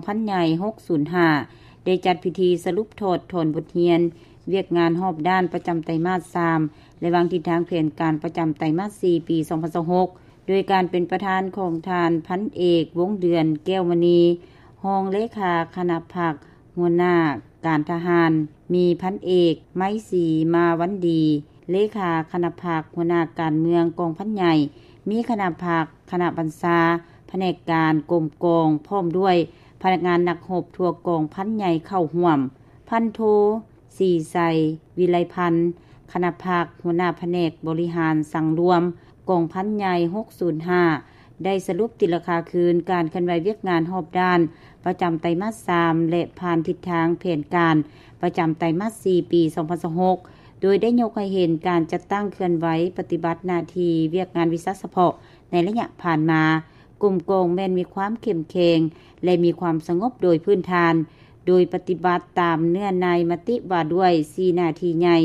ພັນໃຫຍ່ຫົກສູນຫ້າ ໄດ້ຈັດພິທີສະຫຼຸບຖອດຖອນບົດຮຽນວຽກງານຮອບດ້ານປະຈຳໄຕມາດສາມ ແລະ ວາງທິດທາງແຜນການປະຈຳໄຕມາດສີ່ ປີສອງພັນຊາວຫົກ ໂດຍການເປັນປະທານຂອງທ່ານພັນເອກ ວົງເດືອນ ແກ້ວມະນີ ຮອງເລຂາຄະນະພັກ ຫົວໜ້າການທະຫານ, ມີພັນເອກ ໄມສີ ມາວັນດີ ເລຂາຄະນະພັກ ຫົວໜ້າການເມືອງກອງພັນໃຫຍ່, ມີຄະນະພັກ, ຄະນະບັນຊາ, ພະແນກການ, ກົມກອງ ພ້ອມດ້ວຍພະນັກງານນັກຮົບທົ່ວກອງພັນໃຫຍ່ເຂົ້າຮ່ວມ. ພັນໂທ ສີໄຊ ວິໄລພັນ ຄະນະພັກ ຫົວໜ້າພະແນກບໍລິຫານສັງລວມກອງພັນໃຫຍ່ຫົກສູນຫ້າ ໄດ້ສະຫຼຸບຕີລາຄາຄືນການເຄື່ອນໄຫວວຽກງານຮອບດ້ານປະຈຳໄຕມາດສາມ ແລະ ຜ່ານທິດທາງແຜນການປະຈຳໄຕມາດສີ່ ປີສອງພັນຊາວຫົກ ໂດຍໄດ້ຍົກໃຫ້ເຫັນການຈັດຕັ້ງເຄື່ອນໄຫວປະຕິບັດໜ້າທີ່ວຽກງານວິຊາສະເພາະໃນໄລຍະຜ່ານມາ ກົມກອງແມ່ນມີຄວາມເຂັ້ມແຂງ ແລະ ມີຄວາມສະຫງົບໂດຍພື້ນຖານ, ໂດຍປະຕິບັດຕາມເນື້ອໃນມະຕິວ່າດ້ວຍສີ່ໜ້າທີ່ໃຫຍ່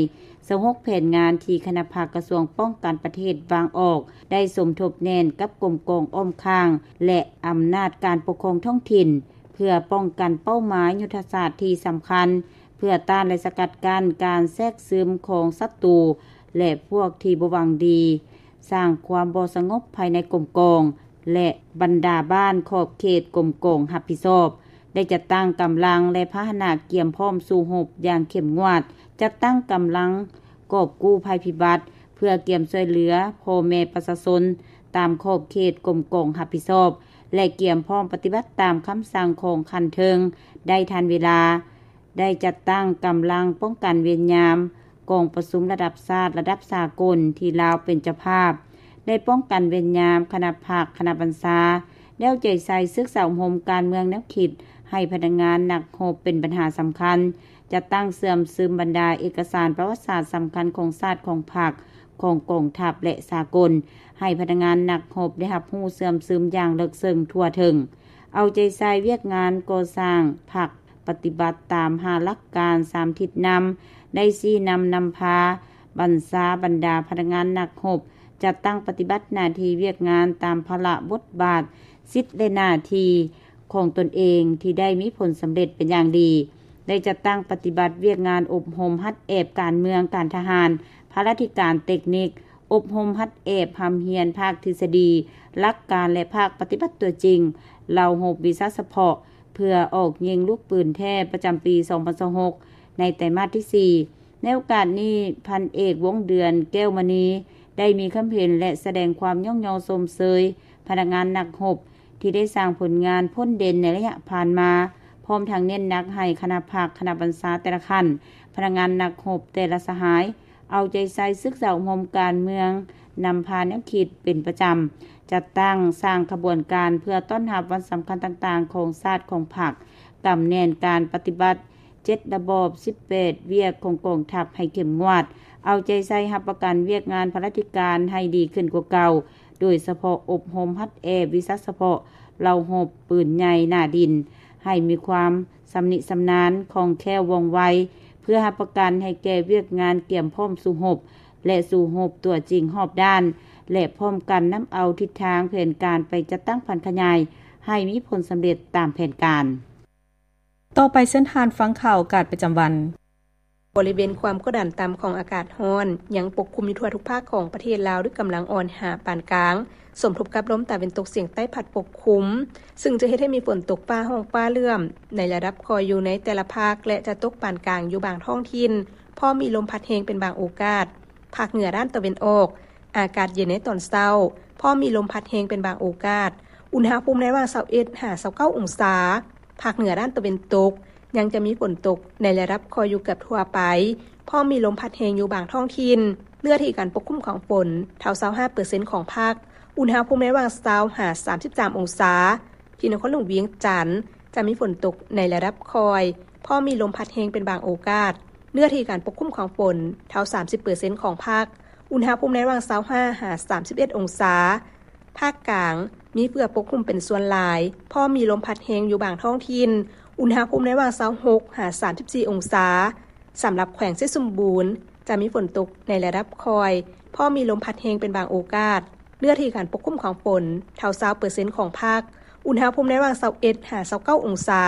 ຊາວຫົກແຜນງານທີ່ຄະນະພັກກະຊວງປ້ອງກັນປະເທດວາງອອກ ໄດ້ສົມທົບແໜ້ນກັບກົມກອງອ້ອມຂ້າງ ແລະ ອຳນາດການປົກຄອງທ້ອງຖິ່ນ ເພື່ອປ້ອງກັນເປົ້າໝາຍຍຸດທະສາດທີ່ສຳຄັນ ເພື່ອຕ້ານ ແລະ ສະກັດກັ້ນການແຊກຊຶມຂອງສັດຕູ ແລະ ພວກທີ່ບໍ່ຫວັງດີ ສ້າງຄວາມບໍ່ສະຫງົບພາຍໃນກົມກອງ ແລະ ບັນດາບ້ານຂອບເຂດກົມກອງຮັບຜິດຊອບ, ໄດ້ຈັດຕັ້ງກຳລັງ ແລະ ພາຫະນະກຽມພ້ອມສູ້ຮົບຢ່າງເຂັ້ມງວດ, ຈັດຕັ້ງກຳລັງກອບກູ້ໄພພິບັດ ເພື່ອກຽມຊ່ວຍເຫຼືອພໍ່ແມ່ປະຊາຊົນຕາມຂອບເຂດກົມກອງຮັບຜິດຊອບ ແລະ ກຽມພ້ອມປະຕິບັດຕາມຄຳສັ່ງຂອງຂັ້ນເທິງໄດ້ທັນເວລາ. ໄດ້ຈັດຕັ້ງກຳລັງປ້ອງກັນເວນຍາມກອງປະຊຸມລະດັບຊາດ, ລະດັບສາກົນທີ່ລາວເປັນເຈົ້າພາບ, ໄດ້ປ້ອງກັນເວນຍາມຄະນະພັກ, ຄະນະບັນຊາ, ແລ້ວໃຈໃສ່ສຶກສາອົບຮົມການເມືອງແນວຄິດໃຫ້ພະນັກງານນັກຮົບເປັນບັນຫາສຳຄັນ, ຈັດຕັ້ງເຊື່ອມຊຶມບັນດາເອກະສານປະຫວັດສາດສຳຄັນຂອງຊາດ, ຂອງພັກ, ຂອງກອງທັບ ແລະ ສາກົນ, ໃຫ້ພະນັກງານນັກຮົບໄດ້ຮັບຮູ້ເຊື່ອມຊຶມຢ່າງເລິກເຊິ່ງທົ່ວເຖິງ, ເອົາໃຈໃສ່ວຽກງານກໍ່ສ້າງພັກ ປະຕິບັດຕາມຫ້າຫຼັກການສາມທິດນຳ ໄດ້ຊີ້ນຳນຳພາບັນຊາບັນດາພະນັກງານນັກຮົບ ຈັດຕັ້ງປະຕິບັດໜ້າທີ່ວຽກງານຕາມພາລະບົດບາດ, ສິດ ແລະ ໜ້າທີ່ຂອງຕົນເອງທີ່ໄດ້ມີຜົນສຳເລັດເປັນຢ່າງດີ, ໄດ້ຈັດຕັ້ງປະຕິບັດວຽກງານອົບຮົມຫັດແອບການເມືອງ, ການທະຫານ, ພາລາທິການ, ເຕັກນິກ, ອົບຮົມຫັດແອບຮ່ຳຮຽນພາກທິດສະດີ, ຫຼັກການ ແລະ ພາກປະຕິບັດຕົວຈິງ ເຫຼົ່າຮົບວິຊາສະເພາະ ເພື່ອອອກຍິງລູກປືນແທ້ປະຈຳປີສອງພັນຊາວຫົກ ໃນໄຕມາດທີສີ່. ໃນໂອກາດນີ້, ພັນເອກ ວົງເດືອນ ແກ້ວມະນີ ໄດ້ມີຄຳເຫັນ ແລະ ສະແດງຄວາມຍ້ອງຍໍຊົມເຊີຍພະນັກງານນັກຮົບ ທີ່ໄດ້ສ້າງຜົນງານພົ້ນເດັ່ນໃນໄລຍະຜ່ານມາ, ພ້ອມທັງເນັ້ນໜັກໃຫ້ຄະນະພັກ, ຄະນະບັນຊາແຕ່ລະຂັ້ນ, ພະນັກງານນັກຮົບແຕ່ລະສະຫາຍ ເອົາໃຈໃສ່ສຶກສາອົບຮົມການເມືອງ, ນຳພາແນວຄິດເປັນປະຈຳ, ຈັດຕັ້ງສ້າງຂະບວນການເພື່ອຕ້ອນຮັບວັນສຳຄັນຕ່າງໆຂອງຊາດ, ຂອງພັກ, ກຳແໜ້ນການປະຕິບັດເຈັດລະບອບ, ສິບແປດວຽກຂອງກອງທັບໃຫ້ເຂັ້ມງວດ, ເອົາໃຈໃສ່ຮັບປະກັນວຽກງານພາລາທິການໃຫ້ດີຂຶ້ນກວ່າເກົ່າ, ໂດຍສະເພາະອົບຮົມຫັດແອບວິຊາສະເພາະເຫຼົ່າຮົບປືນໃຫຍ່ໜ້າດິນ ໃຫ້ມີຄວາມຊຳນິຊຳນານ, ຄ່ອງແຄ້ວ, ວ່ອງໄວ, ເພື່ອຮັບປະກັນໃຫ້ແກ່ວຽກງານກຽມພ້ອມສູ້ຮົບ ແລະ ສູ້ຮົບຕົວຈິງຮອບດ້ານ ແລະ ພ້ອມກັນນຳເອົາທິດທາງແຜນການໄປຈັດຕັ້ງຜັນຂະຫຍາຍໃຫ້ມີຜົນສຳເລັດຕາມແຜນການ. ຕໍ່ໄປເຊີນທ່ານຟັງຂ່າວອາກາດປະຈຳວັນ. ບໍລິເວນຄວາມກົດດັນຕ່ຳຂອງອາກາດຮ້ອນ ຍັງປົກຄຸມຢູ່ທົ່ວທຸກພາກຂອງປະເທດລາວດ້ວຍກຳລັງອ່ອນຫາປານກາງ, ສົມທົບກັບລົມຕາເວັນຕົກສຽງໃຕ້ພັດປົກຄຸມ, ຊຶ່ງຈະເຮັດໃຫ້ມີຝົນຕົກຟ້າຮ້ອງຟ້າເຫຼື້ອມໃນລະດັບຄ່ອຍຢູ່ໃນແຕ່ລະພາກ ແລະ ຈະຕົກປານກາງຢູ່ບາງທ້ອງຖິ່ນ, ພ້ອມມີລົມພັດແຮງເປັນບາງໂອກາດ. ພາກເໜືອດ້ານຕາເວັນອອກ, ອາກາດເຢັນໃນຕອນເຊົ້າ, ພ້ອມມີລົມພັດແຮງເປັນບາງໂອກາດ. ອຸນຫະພູມໃນລະຫວ່າງຊາວເອັດຫາຊາວເກົ້າອົງສາ. ພາກເໜືອດ້ານຕາເວັນຕົກ ຍັງຈະມີຝົນຕົກໃນລະດັບຄ່ອຍຢູ່ເກືອບທົ່ວໄປ, ພ້ອມມີລົມພັດແຮງຢູ່ບາງທ້ອງຖິ່ນ. ເນື້ອທີ່ການປົກຄຸມຂອງຝົນ ເທົ່າຊາວຫ້າເປີເຊັນຂອງພາກ. ອຸນຫະພູມໃນລະຫວ່າງຊາວຫາສາມສິບສາມອົງສາ. ທີ່ນະຄອນຫຼວງວຽງຈັນ ຈະມີຝົນຕົກໃນລະດັບຄ່ອຍ, ພ້ອມມີລົມພັດແຮງເປັນບາງໂອກາດ. ເນື້ອທີ່ການປົກຄຸມຂອງຝົນ ເທົ່າສາມສິບເປີເຊັນຂອງພາກ. ອຸນຫະພູມໃນລະຫວ່າງຊາວຫ້າຫາສາມສິບເອັດອົງສາ. ພາກກາງ ມີເຝືອປົກຄຸມເປັນສ່ວນຫຼາຍ, ພ້ອມມີລົມພັດແຮງຢູ່ບາງທ້ອງຖິ່ນ. ອຸນຫະພູມໃນລະຫວ່າງຊາວຫົກຫາສາມສິບສີ່ອົງສາ. ສຳລັບແຂວງໄຊສົມບູນ ຈະມີຝົນຕົກໃນລະດັບຄ່ອຍ, ພ້ອມມີລົມພັດແຮງເປັນບາງໂອກາດ. ເນື້ອທີ່ການປົກຄຸມຂອງຝົນ ເທົ່າຊາວເປີເຊັນຂອງພາກ. ອຸນຫະພູມໃນລະຫວ່າງຊາວເອັດຫາຊາວເກົ້າອົງສາ.